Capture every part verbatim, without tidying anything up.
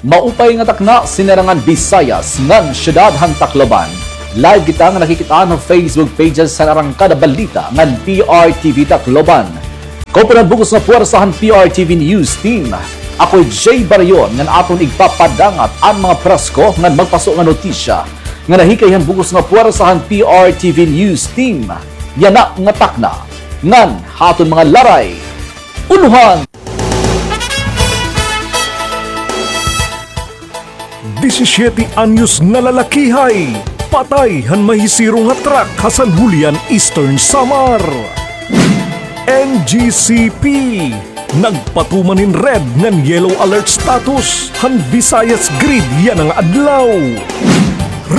Maupay nga takna, Sinirangan Visayas, ngan syudad han Tacloban. Live kita nga nakikit-an ha Facebook pages han Arangkada Balita ngan P R T V Tacloban. Kaupanan bug-os nga puwersa han P R T V News Team. Ako hi Jay Barion ngan aton igpapadangat an mga presko ngan magpaso nga notisya nga nahikay han bug-os nga puwersa han P R T V News Team. Yana nga takna ngan ha aton mga laray. Ulohan! Disisiete anyos nga lalakihay patay han mahisirong nga truck ha San Julian, Eastern Samar. N G C P nagpatuman hin red ngan yellow alert status han Visayas grid yana nga adlaw.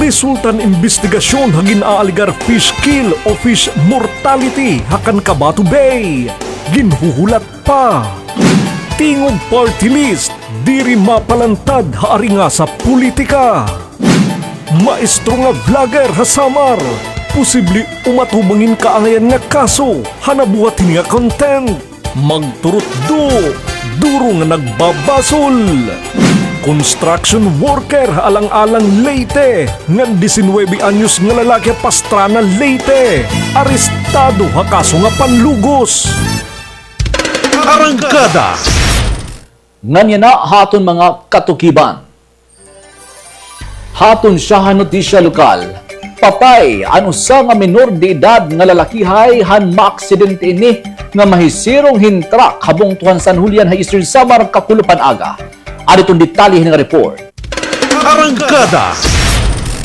Resulta han imbestigasyon ha gin-aalegar fish kill o fish mortality ha Cancabato Bay. Ginhuhulat pa. Tingog Party List, diri mapalantad ha aringasa politika. Maestro nga vlogger ha Samar, posible umatubang hin kaangayan nga kaso ha nabuhat hini nga content. Magturutdo, duro nga nagbabasol. Construction worker ha Alang-alang, Leyte, ngan disinwebe anyos nga lalaki ha Pastrana, Leyte, arestado ha kaso nga panlugos. Arangkada. Ngan yana ha aton mga katukiban. Ha aton syahan notisya lokal, patay an usa nga menor de edad nga lalakihay han maaksidente ini nga mahisirong hin truck ha bungto han San Julian ha Eastern Samar kakulop han aga. Adi iton detalye hini nga report. Arangkada.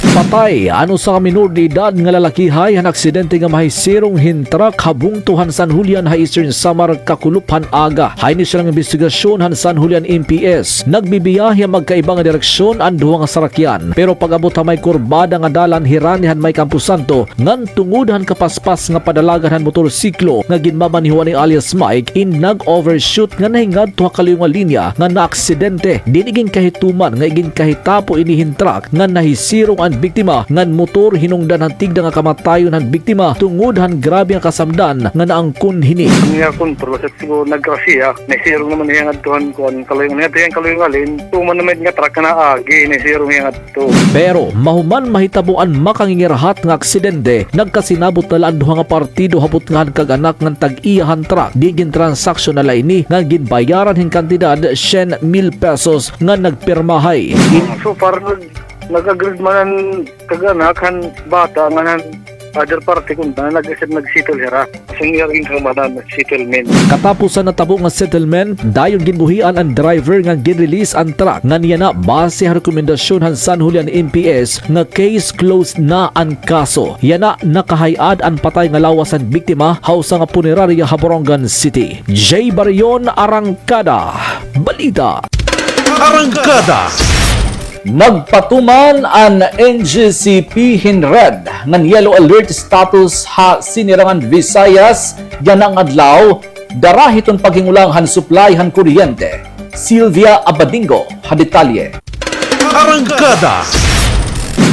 Patay an usa nga menor de edad nga lalakihay han aksidente nga mahisirong hin truck ha bungto han San Julian ha Eastern Samar kakulop han aga. Ha inisyal nga imbestigasyon han San Julian M P S, nagbibiyahe ha magkaiba nga direksyon an duha nga sarakyan. Pero pag-abot ha may kurbada nga dalan hirani han may Camposanto, ngan tungod han kapaspas nga padalagan han motorsiklo nga ginmamanehoan ni alias Mike, in nag-overshoot nga nahingadto ha kaluyo nga linya nga naaksidente. Dinhi ginkahituman nga iginkahitapo ini hin truck nga nahisirong an biktima ngan motor hinungdan han tigda nga kamatayon han biktima tungod han grabe nga kasamdan nga naangkon hini. An iya kontrol, basta siguro naggrasya, nahisirong naman hiya ngadto han kuan, kaluyo nga, ngadto hiya kaluyo nga lane, tuman naman nga truck nga naagi, nahisirong hiya ngadto. Pero mahuman mahitabo an makangingirahat nga aksidente, nagkasinabot na la an duha nga partido ha butnga han kag-anak ngan tag-iya han truck. Di gintransaksyon na la ini nga ginbayaran hin kantidad syen mil pesos nga nagpirmahay. So far, nag-, nag-agreed man an kag-anak han bata ngan han other party kun nag-, nag-settle hira. Senior income na settlement. Katapusan natabo nga settlement, dayon ginbuhian an driver ngan gin-release an truck. Ngan yana, base ha rekomendasyon han San Julian M P S nga case closed na an kaso. Yana, nakahay-ad an patay nga lawas han biktima ha usa nga punerarya ha Borongan City. Jay Barion, Arangkada Balita. Arangkada. Nagpatuman an N G C P hin red ngan yellow alert status ha Sinirangan Visayas yana nga adlaw, dara hiton paghingulang han supply han kuryente. Sylvia Abadingo ha detalye. Arangkada.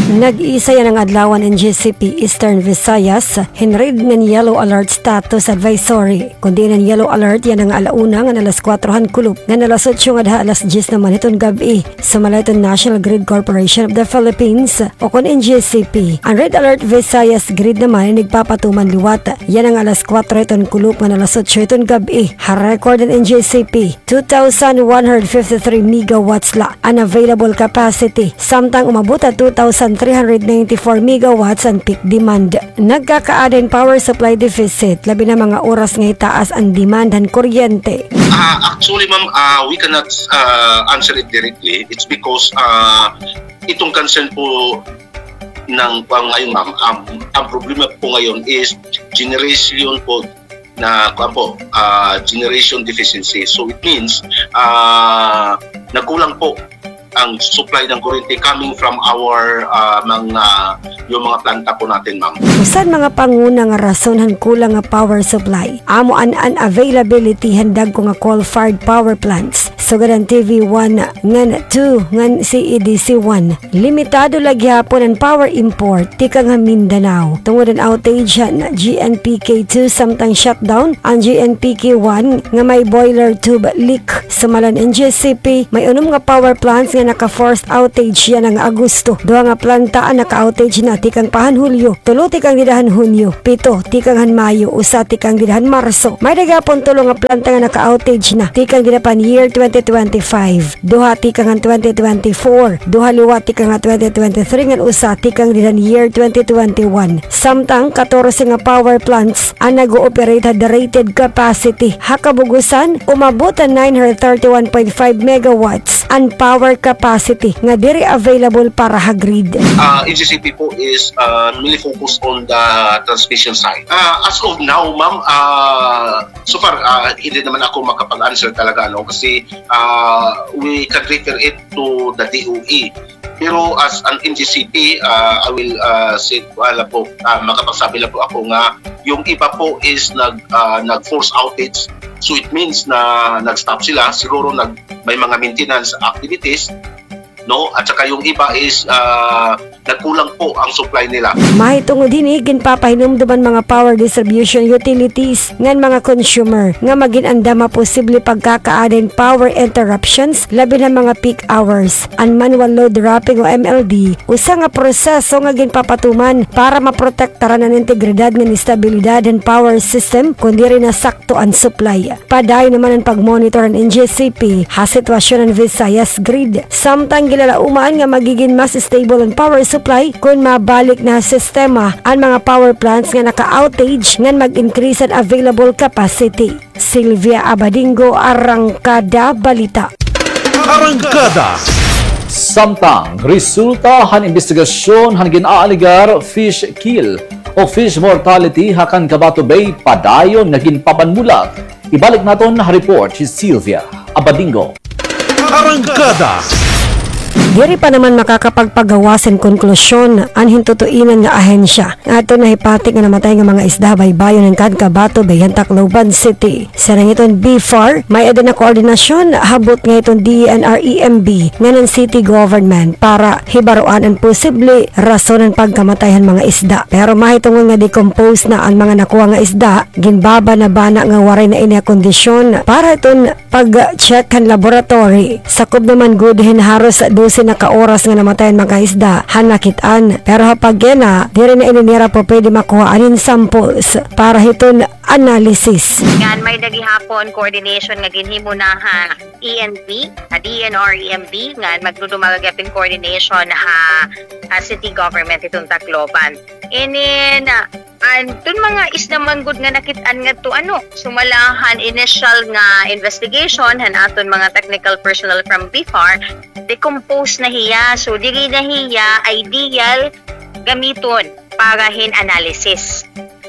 Nag-isa yana nga adlaw an N G C P Eastern Visayas hin red ngan yellow alert status advisory. Kon diin an yellow alert yana nga ala una ngan alas kuwatro han kulop ngan alas otso ngadto ha alas dyes naman hiton gab-i. Sumala hiton National Grid Corporation of the Philippines, o kon N G C P. An Red Alert Visayas Grid naman in igpapatuman liwat yana nga alas kuwatro hiton kulop ngan alas otso hiton gab-i. Ha record han N G C P, two thousand one hundred fifty-three megawatts la an available capacity, samtang umabot ha two thousand three hundred ninety-four megawatts an peak demand. Nagkakaada hin power supply deficit, labi na mga oras nga hitaas an demand han kuryente. Ah, actually, ma'am, ah, we cannot, ah, answer it directly. It's because, ah, itong concern po ng, kuwan ngayon, ma'am, um, ang problema po ngayon is generation po na, kuwan po, ah, generation deficiency. So, it means, ah, nagkulang po ang supply ng kuryente coming from our, ah, mga, yung mga planta po natin, ma'am. Usa han mga panguna nga rason han kulang nga power supply, amo an unavailability han dagko nga coal-fired power plants, sugad an T V one ngan two ngan C E D C one. Limitado la gihapon an power import tikang ha Mindanao tungod han outage han G N P K two samtang shutdown an G N P K one nga may boiler tube leak. Sumala han N G C P, may unom nga power plants nga naka-forced outage yana nga Agosto. Duha nga planta an naka-outage na tikang pa han Hulyo, tulo tikang dida han Hunyo, pito tikang han Mayo, usa tikang dida han Marso. May-ada gihapon tulo nga planta nga naka-outage na tikang dida pa han year twenty twenty-five. Duha tikang han twenty twenty-four, duha liwat tikang han twenty twenty-three, ngan usa tikang dida han year twenty twenty-one. Samtang katorse nga power plants an nag-ooperate ha the rated capacity. Ha kabugusan, umabot han nine hundred thirty-one point five megawatts an power capacity nga diri available para ha grid. Uh, N G C P po is uh, mainly focused on the transmission side. Uh, as of now, ma'am, uh, so far, uh, hindi naman ako makapag-answer talaga, no? Kasi uh, we can refer it to the D O E. Pero as an N G C P, uh, I will uh, say, wala po, uh, makapagsabi lang po ako nga yung iba po is nag, uh, nag-force outage. So it means na nag-stop sila. Siguro nag, may mga maintenance activities, no? At saka yung iba is uh, nagkulang po ang supply nila. Mahitungod hini, ginpapahinumdom an mga power distribution utilities ngan mga consumer nga magin andam ha posible pagkakaada hin power interruptions, labi na mga peak hours. An manual load dropping o M L D, usa nga proseso nga ginpapatuman para maprotektaran an integridad ngan estabilidad han power system kon diri na sakto an supply. Padayon naman an pagmonitor han N G C P ha sitwasyon han Visayas grid. Samtang ginlalaoman nga magigin mas stable an power supply kon mabalik na ha sistema an mga power plants nga naka-outage ngan mag-increase an available capacity. Sylvia Abadingo, Arangkada Balita. Arangkada. Samtang resulta han imbestigasyon han gin-aalegar fish kill o fish mortality ha Can Cavato Bay padayon nga ginpapanmulat. Ibalik naton ha report hi Sylvia Abadingo. Arangkada. Diri pa naman makakapagpagawas hin konklusyon an hintutuinan nga ahensya ngadto ha nahipati nga namatay nga mga isda ha baybayon han Can Cavato Bay han Tacloban City. Siring hiton BFAR, may-ada na koordinasyon ha butnga hiton DENR EMB ngan han city government para hibaroan an posible rason han pagkamatay han mga isda. Pero mahitungod nga decompose na an mga nakuha nga isda, ginbabanabana nga waray na ini ha kondisyon para hiton pag-check han laboratory. Sakob naman gud hin haros dose na ka oras nga namatay an mga isda han nakit-an. Pero ha pagkayana, diri na ini nira pa pwede makuhaan hin samples para hiton analysis. Ngan may-ada gihapon coordination nga ginhimo na ha ENB, ha DENR EMB, ngan magdudumalag gihapon coordination ha, ha city government hiton Tacloban. And then, ah, an, hiton mga isda man gud nga nakit-an ngadto, ano, sumala han initial nga investigation han aton mga technical personnel from BFAR, decompose na hiya. So, diri na hiya ideal gamiton para hin analysis.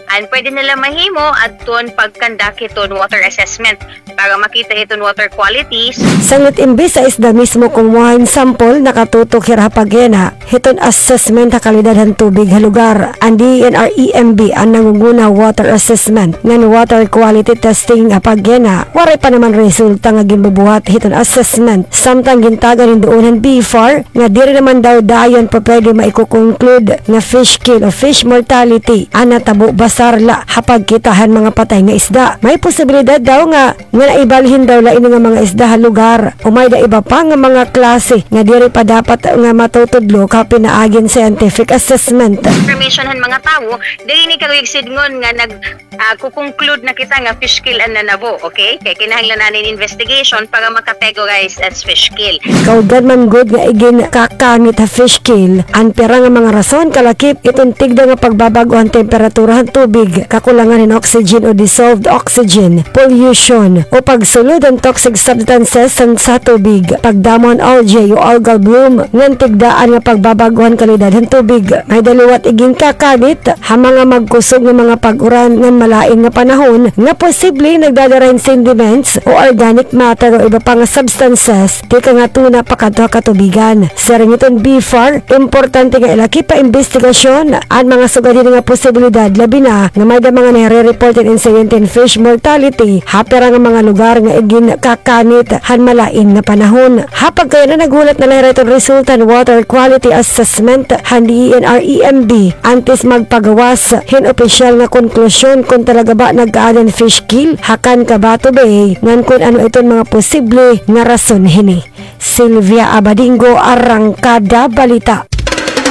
An pwede na la mahimo adton pag-conduct hiton water assessment para makita hiton water qualities. Sanglit imbis ha isda mismo kumuha hin sample, nakatutok hira ha pagkayana hiton assessment ha kalidad han tubig ha lugar. An DENR EMB an nangunguna ha water assessment ngan water quality testing ha pagkayana. Waray pa naman resulta nga ginbubuhat hiton assessment, samtang gintagan hin duon han BFAR nga diri naman daw dayon pa pwede maiko-conclude nga fish kill o fish mortality an natabo basar la ha pagkita han mga patay nga isda. May posibilidad daw nga, nga naibalhin daw la ini nga mga isda ha lugar, o may-ada iba pa nga mga klase nga diri pa dapat nga matutudlo ha pinaagi hin scientific assessment. Information han mga tawo, diri ini karuyag sidngon nga nag, ah, kukonclude na kita nga fish kill an nanabo, okay? Kay kinahanglan na hin investigation para ma-categorize as fish kill. Kaugdan man gud nga iginkakanit ha fish kill an pira nga mga rason, kalakip iton tigda nga pagbabag-o han temperatura han tubig, kakulangan hin oxygen o dissolved oxygen, pollution, o pagsulod han toxic substances han, sa tubig, pagdamo han algae o algal bloom, ngan tigdaan nga pagbabag-o han kalidad han tubig. May-ada liwat iginkakanit ha mga magkusog nga mga pag-uran ngan malain nga panahon nga posible nagdadara hin sediments o organic matter o iba pa nga substances tikang ha tuna pakadto ha katubigan. Siring hiton BFAR, importante nga ilakip ha imbestigasyon an mga sugad hini nga posibilidad, labi na nga may-ada mga nahire-report hin insidente hin fish mortality ha pira nga mga lugar nga iginkakanit han malain nga panahon. Ha pagkayana, naghulat na la hira hiton resulta han water quality assessment han DENR EMB antes magpagawas hin opisyal nga konklusyon kon talaga ba nagkaada hin fish kill ha Can Cavato Bay ngan kon ano iton mga posible nga rason hini. Sylvia Abadingo, Arangkada Balita.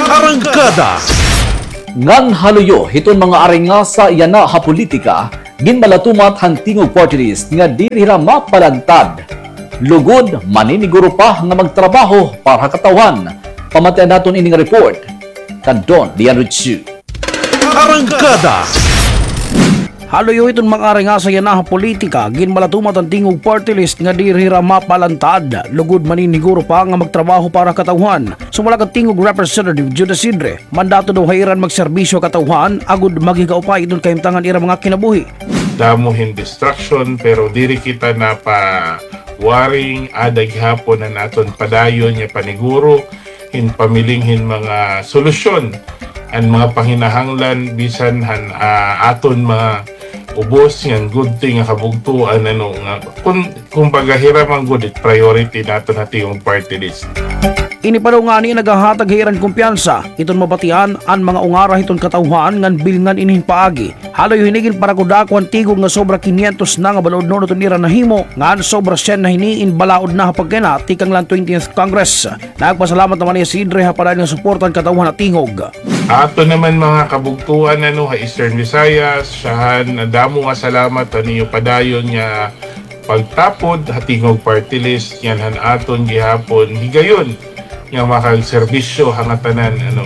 Arangkada. Ngan ha luyo hiton mga aringasa yana ha politika, ginmalatumat han Tingog Party List nga diri hira mapalantad. Lugod, maniniguro pa nga magtrabaho para ha katawhan. Pamatian naton ini nga report kan Don Leandro Chu. Arangkada. Ha luyo hiton mga aringasa yana ha politika, ginmalatumat han Tingog Party List nga diri hira mapalantad. Lugod, maniniguro pa nga magtrabaho para ha katawhan. Sumala kan Tingog Representative Judas Sidre, mandato daw ha ira an magserbisyo ha katawhan agod maghigaupay hiton kahimtangan ira mga kinabuhi. Damo hin distraction, pero diri kita napawaring, ada gihapon an aton padayon nga paniguro hin pamiling hin mga solusyon an mga panginahanglan bisan han, ah, aton mga ubos ngan gudti nga kabugtoan, ano, nga kun, kumbaga, hira man gud it priority naton ha Tingog Party List. Ini pa daw ngani nagahatag ha ira hin kumpiyansa hiton mabatian an mga ungara hiton katawhan ngan bilngan ini hin paagi. Ha luyo hini, ginparakudako han Tingog nga sobra kinyentos na nga balaod nuon iton ira nahimo, ngan sobra syen na hini in balaod na ha pagkayana tikang la han twentieth Congress. Nagpasalamat naman hiya Sidre ha padayon nga suporta han katawhan ha Tingog. Aton naman mga kabugtoan, ano, ha Eastern Visayas, syahan, damo nga salamat han iyo padayon nga pagtapod ha Tingog Party List, ngan han aton gihapon higayon nga makagserbisyo ha ngatanan, ano.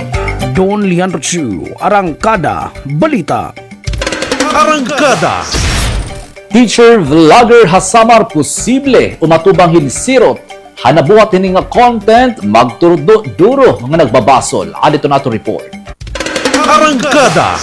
Don Leandro Chu, Arangkada Balita. Arangkada. Teacher vlogger ha Samar posible umatubang hin sirot ha nabuhat hini nga content, magturutdo duro nga nagbabasol. Adi iton aton report. Arangkada.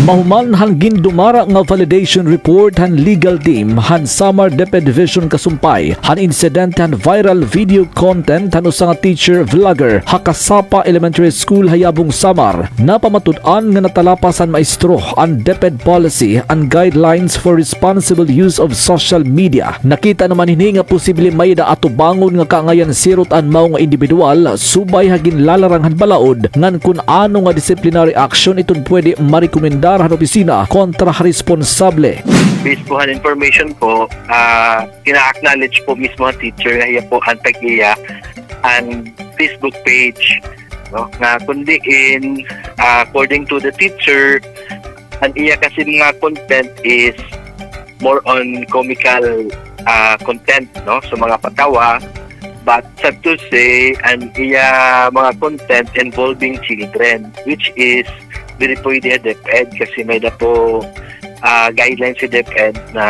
Mahuman han gindumara nga validation report han legal team han Samar DepEd Division kasumpay han insidente han viral video content han usa nga teacher vlogger ha Kasapa Elementary School ha Yabong, Samar, napamatud-an nga natalapas han maestro an DepEd policy and guidelines for responsible use of social media. Nakita naman hini nga posible may-ada atubangon nga kaangayan sirot an mao nga indibidwal subay ha ginlalarang han balaod ngan kun ano nga disciplinary action iton pwede marekomendar han opisina kontra ha responsable. Based po han information po, ah, gina-acknowledge po mismo han teacher nga hiya po an tag-iya an Facebook page, no? Nga kun diin, ah, according to the teacher, an iya kasi mga content is more on comical, ah, content, no? So, mga patawa. But sad to say, an iya mga content involving children, which is diri pwede ha DepEd kasi may-ada po, ah, guidelines sa DepEd na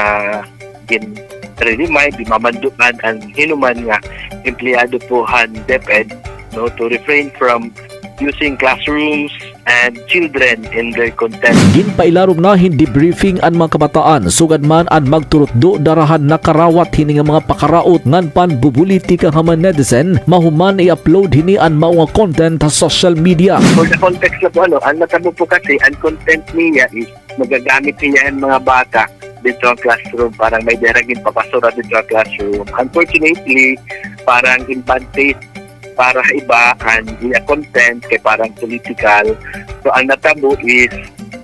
gin-remind, ginmamanduan an hin-o man nga empleyado po han DepEd, no, to refrain from using classrooms and children in their content. Ginpailarom na hin debriefing an mga kabataan, sugad man an magturutdo dara han nakarawat hini nga mga pakaraot ngan panbubulitika ha mga netizen, mahuman i-upload hini an mao nga content ha social media. For the context na po, ano, an natabo po kasi, an content niya is magagamit hiya hin mga bata didto ha classroom, parang may-ada hira ginpapasura didto ha classroom. Unfortunately, parang in bad taste para ha iba an iya content kay parang political. So, an natabo is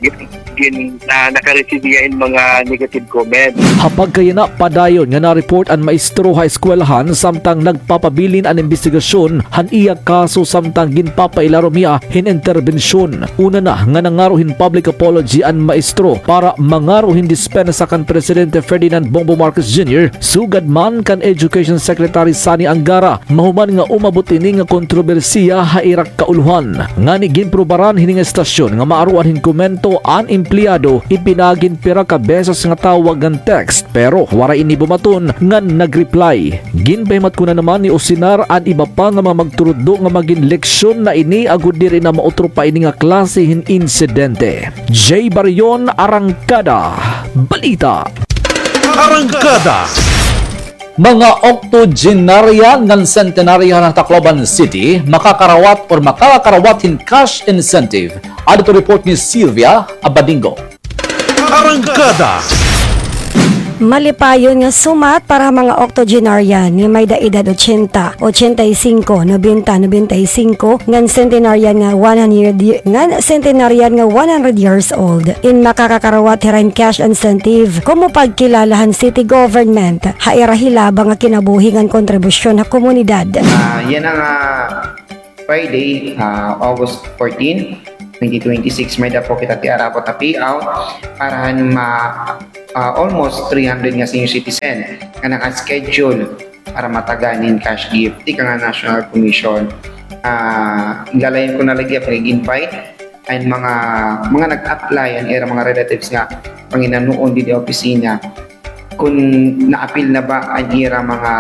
gin-, gin-, na, naka-receive hiya hin mga negative comments. Ha pagkayana, padayon nga na-report an maestro ha eskwelahan samtang nagpapabilin an imbestigasyon han iya kaso samtang ginpapailarom hiya hin interbensyon. Una na nga nangaro hin public apology an maestro para mangaro hin dispensa kan Presidente Ferdinand Bongbong Marcos Junior, sugad man kan Education Secretary Sonny Angara, mahuman nga umabot ini nga kontrobersiya ha ira kaulohan. Ngani ginprobaran hini nga estasyon nga maaroan hin komento an empleyado, ipinaagi hin pira ka beses nga tawag ngan text, pero waray ini bumaton ngan nag-reply. Ginpahimatkunan naman ni Osinar an iba pa nga mga magturutdo nga magin leksyon na ini agod diri na mautro pa ini nga klase hin insidente. Jay Barion, Arangkada Balita. Arangkada. Mga oktogenarya ngan sentenarya han Tacloban City makakarawat or makakarawat hin cash incentive. Adi iton report ni Sylvia Abadingo. Arangkada. Malipayon nga sumat para ha mga octogenarian nga may-da edad ochenta, ochenta y cinco, nobenta, nobenta y cinco, ngan centenarian nga one hundred y-, ngan centenarian nga one hundred years old. In makakakarawat hira hin cash incentive, komo pagkilala han city government ha ira hilaba nga kinabuhi ngan kontribusyon ha komunidad. Ah, yana nga, ah, Friday, ah, August fourteen, twenty twenty-six, may-da po kita tiarabot nga payout para han ma-, ah, almost three hundred nga senior citizen nga naka-schedule para matagan hin cash gift tikang ha National Commission. Ah, lalayon ko na la gihap nga ig-invite an mga, mga nag-apply, an ira mga relatives nga panginanoon dinhi ha opisina, kon naapil na ba an ira mga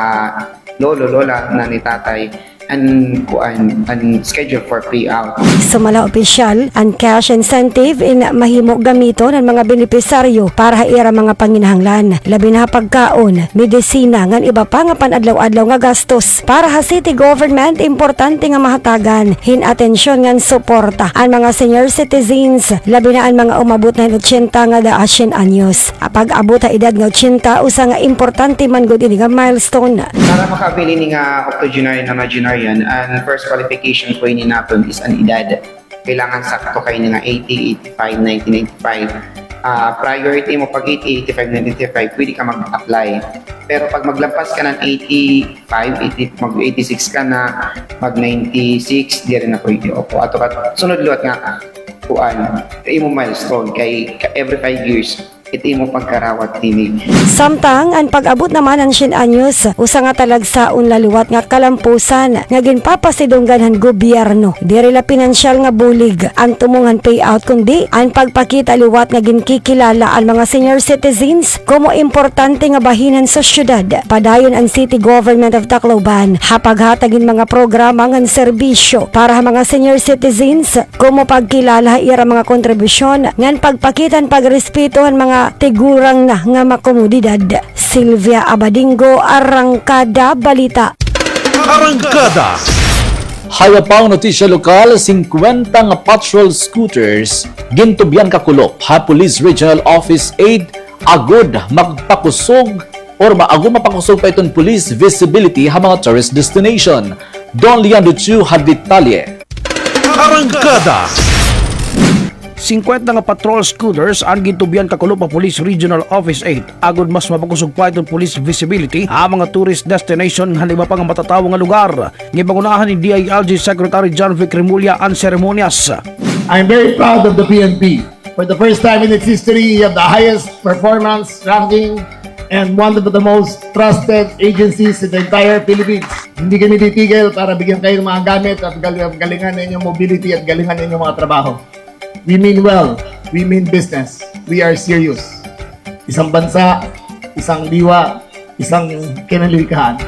lolo, lola, nanay, tatay, an kuan, an schedule for payout. Sumala ha opisyal, an cash incentive in mahimo gamiton han mga benepisaryo para ha ira mga panginahanglan, labi na ha pagkaon, medisina, ngan iba pa nga pan-adlaw-adlaw nga gastos. Para ha city government, importante nga mahatagan hin atensyon ngan suporta an mga senior citizens, labi na an mga umabot na hin ochenta ngada ha syen anyos. An pag-abot ha edad nga ochenta, usa nga importante man gud ini nga milestone. Para maka-avail ini nga octogenarian, nonagenarian, an first qualification po ini naton is an edad. Kailangan sakto kay ini nga eighty, eighty-five, ninety, ninety-five. Ah, prior it imo pag eighty, eighty-five, ninety-five, pwede ka mag-apply. Pero pag maglampas ka ng eighty-five, eighty, mag eighty-six ka na, mag ninety-six, diri na pwede. Opo, ato ka, sunod liwat nga, kuan, imo milestone kay ka-, every five years, it imo pagkarawat hini. Samtang an pag-abot naman han syen anyos, usa nga talagsaon la liwat nga kalampusan nga ginpapasidunggan han gobyerno. Diri la pinansyal nga bulig an tumong han payout, kundi an pagpakita liwat nga ginkikilala an mga senior citizens komo importante nga bahin han sosyedad. Padayon an City Government of Tacloban ha paghatag hin mga programa ngan serbisyo para ha mga senior citizens, komo pagkilala ha ira mga kontribusyon ngan pagpakita han pagrespeto han mga tigurang na nga makomodidad. Sylvia Abadingo, Arangkada Balita. Arangkada. Ha iba pang notisya lokal, singkwenta nga patrol scooters gintubyan kakulop ha Police Regional Office eight agod magpakusog or ma-, agod mapakusog pa iton police visibility ha mga tourist destination. Don Leandro Chu ha detalye. Arangkada. Singkwenta nga patrol scooters an gintubyan kakulop ha Police Regional Office eight agod mas mapakusog pa iton police visibility ha mga tourist destination ngan iba pa nga matatawo nga lugar. Ginpangunahan ni D I L G Secretary John Vic Remulla an seremonyas. I'm very proud of the P N P. For the first time in its history, you have the highest performance ranking and one of the most trusted agencies in the entire Philippines. Hindi kami titigil para bigyan kayo ng mga gamit at gal-, galingan ninyo mobility at galingan ninyo mga trabaho. We mean well. We mean business. We are serious. Isang bansa, isang diwa, isang kinalilikhahan.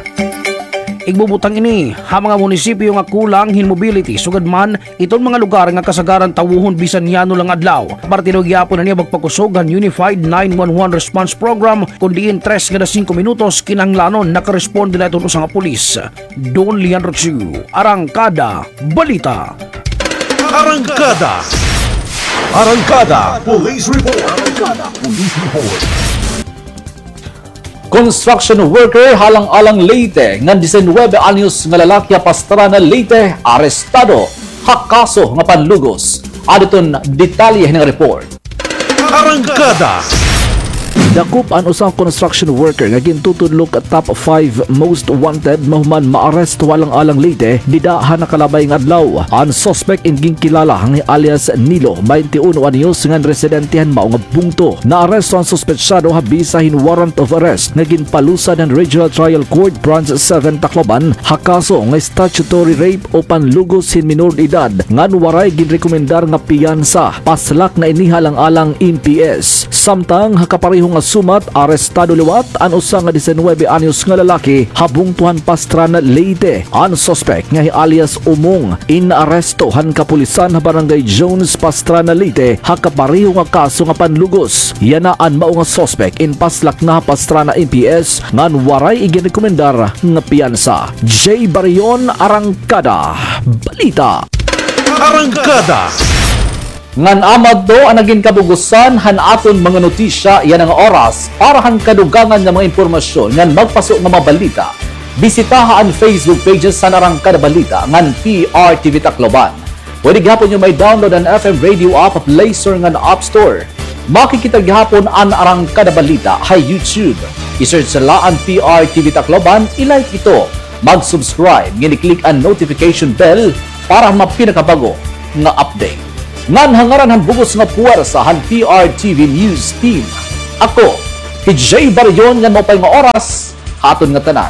Igbubutang ini ha mga munisipyo nga kulang hin mobility, sugad man iton mga lugar nga kasagaran tawohon bisan yano la nga adlaw. Parte daw gihapon na niya pagpakusog han Unified nine one one Response Program, kun diin tres kada singko minutos kinahanglanon nakaresponde na iton usa nga pulis. Don Leandro Chu, Arangkada Balita. Arangkada. Arangkada Police Report. Arangkada Police Report. Construction worker ha Alang-alang, Leyte nga disinuybe anyos nga lalaki ha Pastrana, Leyte, arestado ha kaso nga panlugos. Adi iton detalye nga report. Arangkada. Dakop an usa nga construction worker nga gintutudlo ha top five most wanted mahuman maaresto ha Alang-alang, Leyte, dida ha nakalabay nga adlaw. An suspek in ginkilala nga alias Nilo, baynte uno anyos, ngan residente han mao nga bungto. Naaresto an suspetsado ha bisa hin warrant of arrest nga ginpalusad han Regional Trial Court Branch seven Tacloban ha kaso nga statutory rape o panlugos hin minor de edad ngan waray ginrekomendar nga piyansa. Paslak na ini ha Alang-alang M P S. Samtang ha kapareho nga sumat, arestado liwat an usa nga disinuybe anyos nga lalaki ha bungto han Pastrana, Leyte. An suspek nga hi alias Umong, inaaresto han kapulisan ha Barangay Jones, Pastrana, Leyte, ha kapareho nga kaso nga panlugos. Yana an mao nga suspek in paslak na ha Pastrana M P S ngan waray iginrekomendar nga piyansa. Jay Barion, Arangkada Balita. Arangkada. Ngan amo adto an nagin kabugusan han aton mga notisya yana nga oras. Para han kadugangan nga mga impormasyon ngan magpaso nga mga balita, bisitaha an Facebook pages han Arangkada Balita ngan P R T V Tacloban. Pwede gihapon niyo ma-download an F M Radio app ha Play Store ngan App Store. Makikita gihapon an Arangkada Balita ha YouTube. I-search la an P R T V Tacloban, i-like ito, mag-subscribe, ngan i-click an notification bell para ha mga pinakabag-o nga update. Ngan ha ngaran han bug-os nga puwersa han P R T V News Team, ako hi Jay Barrion, ngan maupay nga oras ha aton ngatanan.